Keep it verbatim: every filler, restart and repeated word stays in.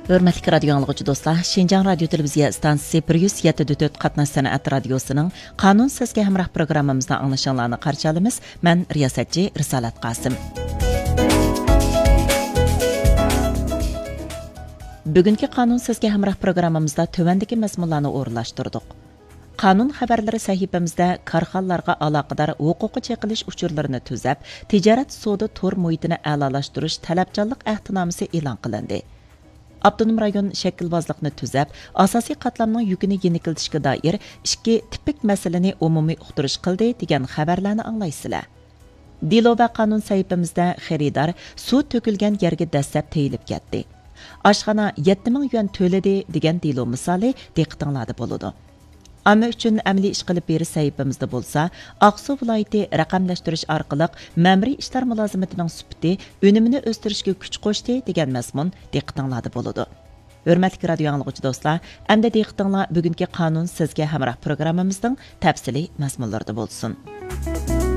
ھۆرمەتلىك رادىيو ئاڭلىغۇچى دوستلار، شىنجاڭ رادىيو تېلېۋىزىيە ئىستانسىسى بىر يۈز يەتتە دۆت قاتناش سەنئەت رادىيوسىنىڭ قانۇن سىزگە ھەمراھ پروگراممىمىزدا ئاڭلىشىڭلارنى قارشى ئالىمىز. مەن رىياسەتچى رىسالەت قاسىم. بۈگۈنكى قانۇن سىزگە ھەمراھ پروگراممىمىزدا تۆۋەندىكى مەزمۇنلارنى ئورۇنلاشتۇردۇق. قانۇن خەۋەرلىرى سەھىپىمىزدە كارخانىلارغا ئالاقىدار ھوقۇققا چېقىلىش ئۇچۇرلىرىنى تۈزەپ، تىجارەت سودا تور مۇھىتىنى ئەلالاشتۇرۇش تەلەپچانلىق ئەھدىنامىسى ئېلان قىلىندى. ئاپتونوم رايون شەكىلۋازلىقنى تۈزەپ، ئاساسىي قاتلامنىڭ يۈكىنى يېنىكلىتىشكە دائىر ئىككى تىپىك مەسىلىنى ئومۇمىي ئۇقتۇرۇش قىلدى، دېگەن خەۋەرلەرنى ئاڭلايسىلەر. دېلو ۋە قانۇن سەھىپىمىزدە خېرىدار سۇ تۆكۈلگەن يەرگە دەسسەپ تېيىلىپ كەتتى. ئاشخانا يەتتە مىڭ يۈەن تۆلىدى، دېگەن دېلو مىسالى دىققىتىڭلاردا بولىدۇ. ئامما ئۈچۈن ئەمەلىي ئىش قىلىپ بېرىش سەھىپىمىزدە بولسا، ئاقسۇ ۋىلايىتى رەقەملەشتۈرۈش ئارقىلىق مەمۇرىي ئىشلار مۇلازىمىتىنىڭ سۈپىتى، ئۈنۈمىنى ئۆستۈرۈشكە كۈچ قوشتى، دېگەن مەزمۇن دىققىتىڭلاردا بولىدۇ. ھۆرمەتلىك رادىيو ئاڭلىغۇچى دوستلار، ئەمدى دىققىتىڭلار بۈگۈنكى قانۇن سىزگە ھەمراھ پروگراممىمىزنىڭ تەپسىلىي مەزمۇنلىرىدا بولسۇن.